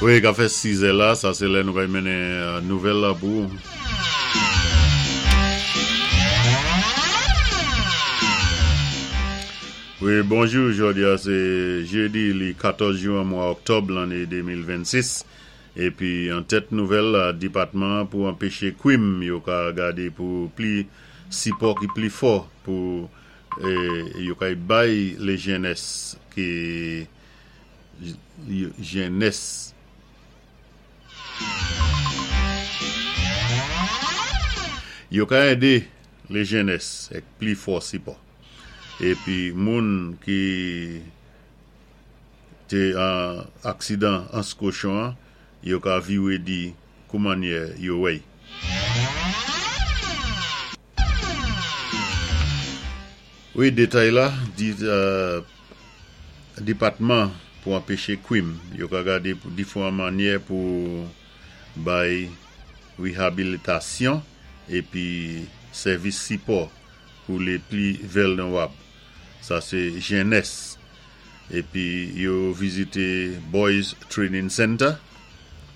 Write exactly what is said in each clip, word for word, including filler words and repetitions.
Wi, ka fè sizè la, sa sé lè nou kay mennen nouvèl la pou. Wi, bonjou, jòdi-a sé jédi li katòz jwen mwa òktòb lanné de mil vennsis. Épi an tèt nouvèl la, dipatman pou anpéché kwim yo ka gadé pou pli sipò ki pli fò pou yo kay bay lé jènès ki jènès yo ka édé lé jènès èk pli fò sipò. Épi moun ki té an aksidan Anse-Cochon yo ka viwé di kou mannyè yo wè'y. Wi, détay la, di dipatman pou anpéché kwim yo ka gadé pou diféwan mannyè pou bay wéhabilitasyon épi sèvis sipò pou lé pli vilnwab. Sa sé jènès. Épi yo vizité Boys Training Center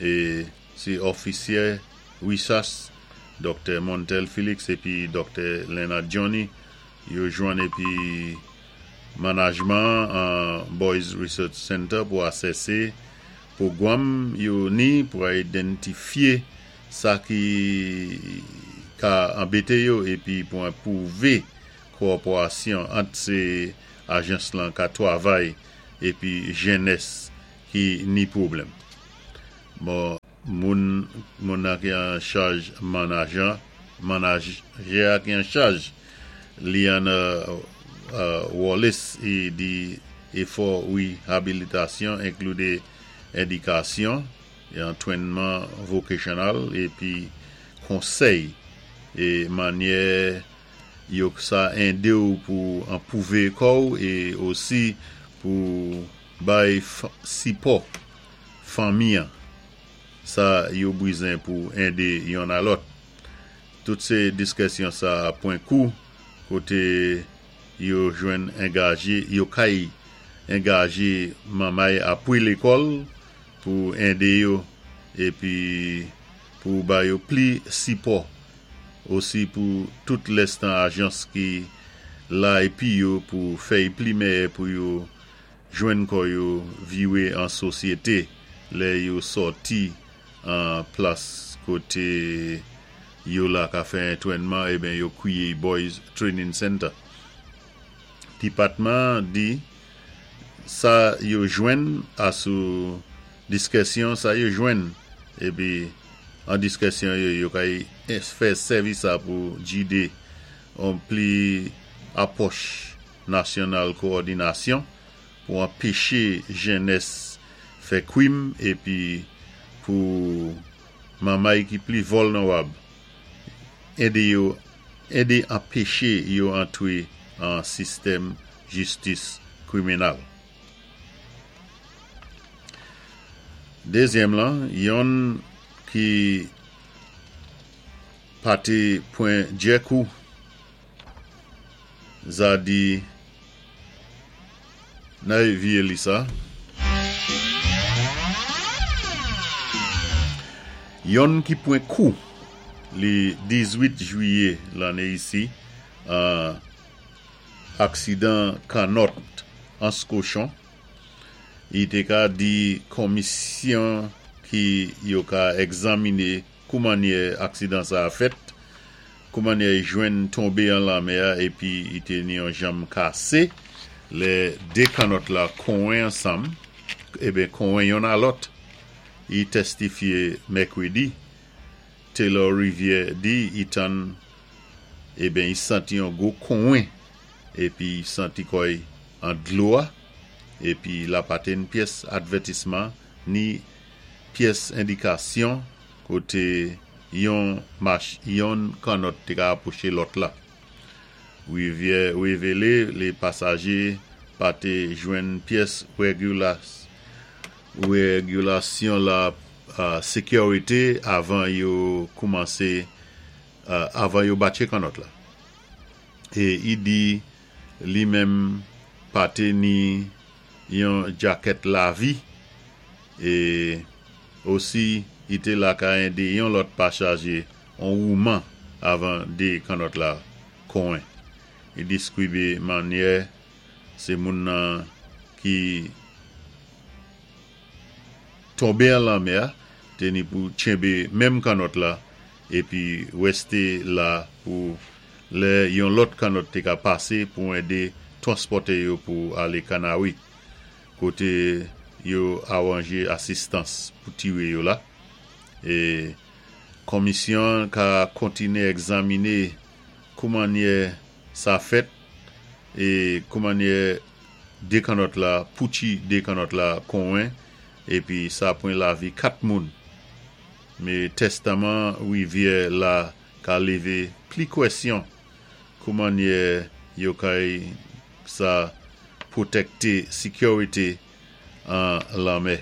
é sé òfisyé RISAS, Doktè Montel Félix épi Doktè Leonard Johnny yo jwenn épi manajman an Boys Research Center pou asèsé pwogwam yo ni pou idantifyé sa ki ka anbété yo épi pou anpwouvé kowopérasyon ant sé ajans lan ka twavay épi jènès ki ni pwoblèm. Bon, moun moun nan ki an chaj manajan, manajè ki an chaj Lian Wallace i di éfò wéhabilitasyon enkli édikasyon é antwénman vokasyonèl épi konsèy é mannyè yo sa édé-w pou anpwouvé kò-w é osi pou bay sipò fanmi an. Sa yo bizwen pou édé yonn a lòt. Tout sé diskisyon sa pwan kou koté yo jwenn angajé, yo kay angajé manmay apwé lékòl pou édé yo épi pou ba yo pli sipò osi pou tout lèstan ajans ki la épi yo pou fè pli mèyè pou yo jwenn kò yo viwé an sosyété lè yo sòti an plas koté yo la ka fè antwénman eben yo kwiyé Boys Training Center. Dipatman di sa yo jwenn asou diskisyon sa yo jwenn épi an diskisyon yo yo kay fè sèvis sa pou gidé an pli apwòch nasyonal kowòdinasyon pou anpéché jènès fè kwim épi pou manmay ki pli vilnwab édé yo édé anpéché yo antwé an sistèm jistis kriminèl. Dézyèm lan, yonn ki pa té pwan djè kou za di nay viyé li sa. Yonn ki pwan kou li dizwit jwiyé lanné isi an aksidan kannòt Anse-Cochon, i té ka di komisyon ki yo ka egzaminé kou mannyè aksidan sa a fèt, kou mannyè i jwenn tonbé an lanmè-a épi i té ni yon janm kasé, lè dé kannòt la konwen ansanm, eben konwen yonn a lòt. I testifyé mèkwédi. Taylor Rivière di i tann eben i santi yon gwo konwen épi i santi kò'y an dlo-a épi la pa té ni pyès advètisman ni pyès endikasyon koté yon mach yon kannòt té ka apwoché lòt la. Rivière wévélé lé pasajé pa té jwenn pyès wégilasyon la sékirité avan yo koumansé avan yo batché kannòt la. É i di li menm pa té ni yon jakèt lavi é Osi, i té la ka édé yon lòt pasajé an wouman avan dé kannòt la konwen. I diskwibé mannyè sé moun nan ki tonbé an lanmè-a té ni pou tchenbé menm kannòt la épi wèsté la pou lè yon lòt kannòt té ka pasé pou édé twanspòté yo pou alé Kanawi, koté yo awanjé asistans pou tiré yo la. É konmisyon ka kontiné egzaminé koumannyè sa fèt é koumannyè dé kannòt la, poutchi dé kannòt la konwen épi sa pwan lavi kat moun. Mé tèstaman wivyè la ka lévé pli kwèsyon koumannyè yo kay sa pwotèkté sikiwité an lanmè.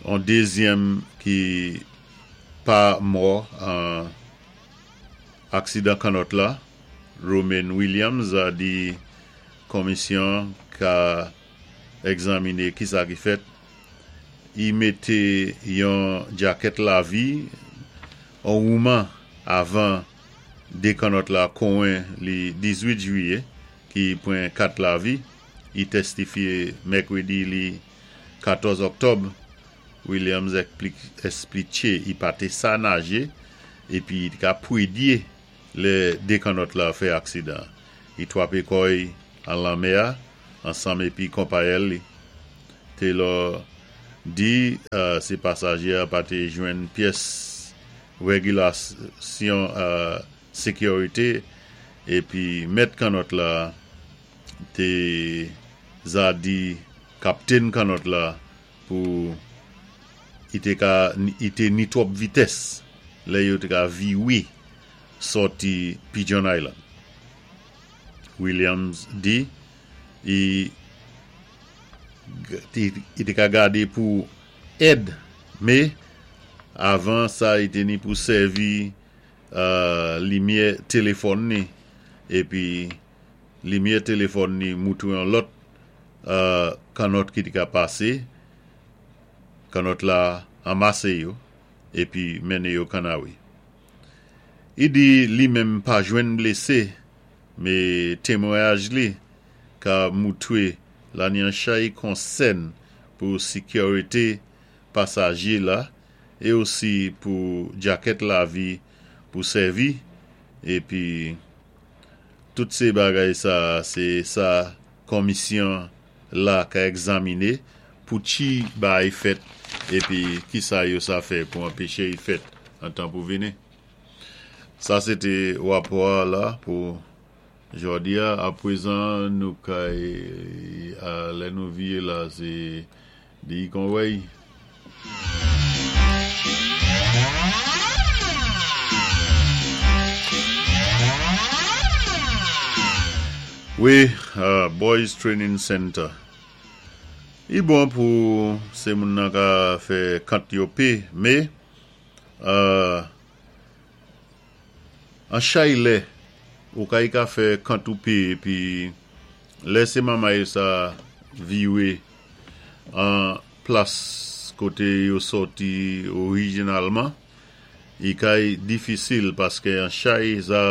An dézyèm ki pa mò an aksidan kannòt la, Romaine Williams a di konmisyon ka egzaminé ki sa ki fèt. I mété yon djakèt lavi an wouman avan dé kannòt la konwen li dizuit jwiyé ki pwan kat lavi. I tèstifyé mèkwédi li katòz òktòb. Williams èsplitché i pa té sa najé épi i ka pwédyé lè dé kannòt la fè aksidan. I twapé kò'y an lanmè-a ansanm épi konpayèl li. Taylor di sé pasajé-a pa té jwenn pyès wégilasyon sékiwité épi mèt kannòt la té za di kaptèn kannòt la pou i té ka i té ni twòp vitès lè yo té ka viwé sòti Pigeon Island. Williams di i i té ka gadé pou èd, mé avan sa i té ni pou sèvi limyè téléfòn ni épi limyè téléfòn ni moutwé an lòt kannòt ki té ka pasé, kannòt la anmasé yo épi mennen yo Kanawi. I di li menm pa jwenn blésé, mé témwayaj li ka moutwé la ni an chay konsèn pou sikiwité pasajé la é osi pou djakèt lavi pou sèvi épi tout sé bagay sa sé sa konmisyon la ka egzaminé poutchi bagay fèt épi ki sa yo sa fè pou anpéché y fèt an tan pou vini. Sa sé té wapò la pou jòdi-a. Apwézan nou kay lè nou viyé la sé di Conway. Wi, Boys Training Center. I bon pou sé moun nan ka fè kant yo pé, mé an chay lè ou kay ka fè kant ou pé épi lè sé manmay sa viwé an plas koté yo sòti orijinalman, i kay difisil paské an chay sa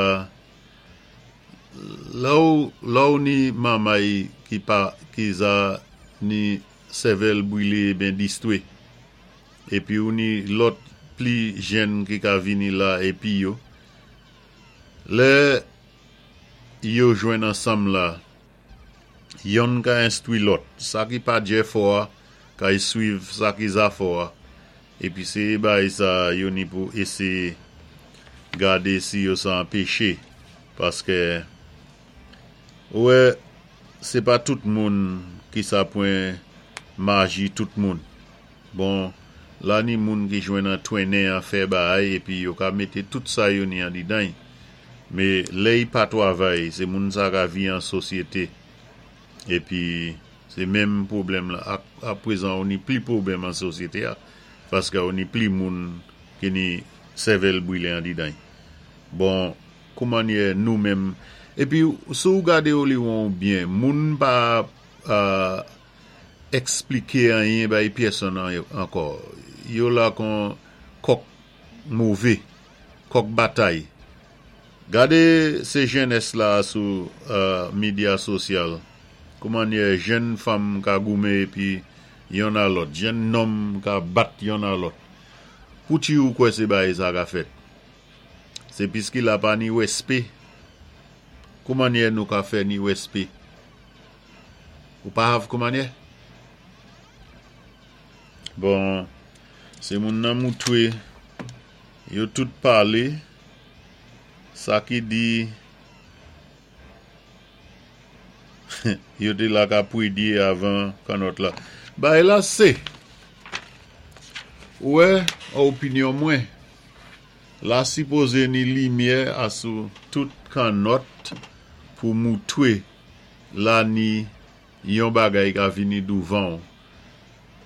lè ou ni manmay ki pa ki za ni sèvèl bwilé ben distwé épi ou ni lòt pli jèn ki ka vini la épi yo lè yo jwenn ansanm la yonn ka enstwi lòt sa ki pa djè fò-a kay swiv sa ki za fò-a épi sé bagay sa yo ni pou éséyé gadé si yo sa anpéché paské ou wè sé pa tout moun ki sa pwan maji tout moun. Bon, la ni moun ki jwenn antwennen an fè bagay épi yo ka mété tout sa yo ni andidan. Mé lè y pa twavay, sé moun sa ka vi an sosyété. Épi sé menm pwoblèm la apwézan ou ni pli pwoblèm an sosyété-a paské ou ni pli moun ki ni sèvèl bwilé andidan. Bon, koumannyè nou menm épi si ou gadé ou li won byen, moun pa Ekspliké anyen bay pyèsonn ankò. Yo la kon kòk mové, kòk batay. Gadé sé jènès la sou medya sosyal. Koumannyè jenn fanm ka goumen épi yonn a lòt, jenn nonm ka bat yonn a lòt. Pouti ou kwè sé bagay sa ka fèt? Sé piski la pa ni wèspé. Koumannyè nou ka fè ni wèspé? Ou pa hav koumannyè? Bon, sé moun nan moutwé, yo tout palé, sa ki di yo té la ka pwédyé avan kannòt la. Bagay la sé, ou wè, opinyon mwen, la sipozé ni limyè asou tout kannòt pou moutwé la ni yon bagay ka vini douvan ou.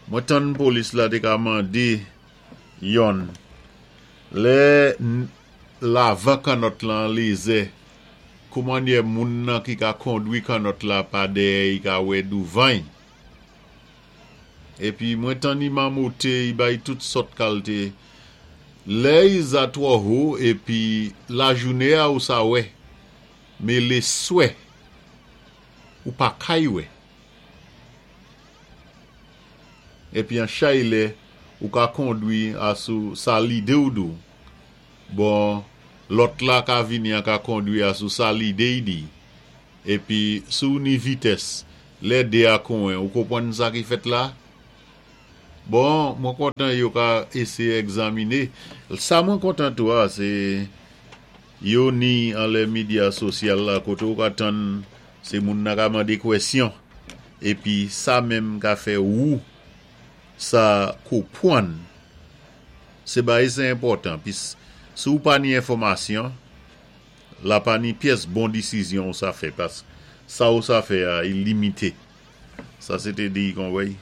Mwen tann polis la té ka mandé yonn. Lè lavan kannòt lan lézè, koumannyè moun nan ki ka kondwi kannòt la pa dèyè i ka wè douvan-y? Épi mwen tann i mamoté, i bay tout sòt kalté. Lè i za twò ho épi lajounen-a ou sa wè, mé léswè ou pa kay wè. Épi an chay lè ou ka kondwi asou sa lidé ou di-w. Bon, lòt la ka vini an ka kondwi asou sa lidé i di. Épi si ou ni vitès, lè dé a konwen, ou konpwann sa ki fèt la? Bon, mwen kontan yo ka éséyé egzaminé. Sa mwen kontan tou a, sé yo ni anlè medya sosyal la koté ou ka tann sé moun nan ka mandé kwèsyon. Épi sa menm ka fè ou sa konpwann. Sé bagay sé enpòtan. Pis si ou pa ni enfòmasyon, la pa ni pyès bon disizyon ou sa fè. Paski sa ou sa fè a, i limité. Sa sé té di kon wèy.